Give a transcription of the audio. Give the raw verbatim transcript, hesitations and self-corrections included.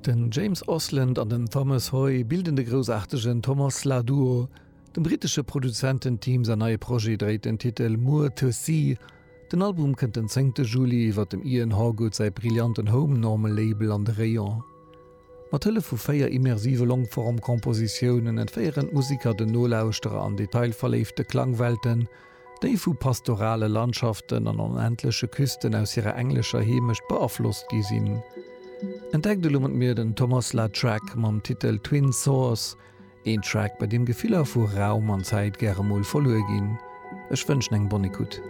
Den James Oslund an den Thomas Hoy bilden de groussaartegen Thomasla Duo. Dem brittesche Produzententeam säin neie Projet dréit den Titel Moor to Sea. Den Album kënnt den zéngte Juli iwwer dem Ian Hawgood säi brillanten Home Normal Label an de Rayon. Mat Hëllef vu véier immersive Longform-Kompositiounen entféieren d'Museker den Nolauschterer an detailverléifte Klangwelten, déi vu pastorale Landschaften an onendleche Küsten aus hirer englescher Heemecht beaflosst gi sinn. Entdeckt elo mat mir den Thomasla Track mam Titel Twin Source, een Track, bei deem Gefiller vu Raum an Zäit gäre mol verluer ginn. Ech wënschen eng bonne écoute.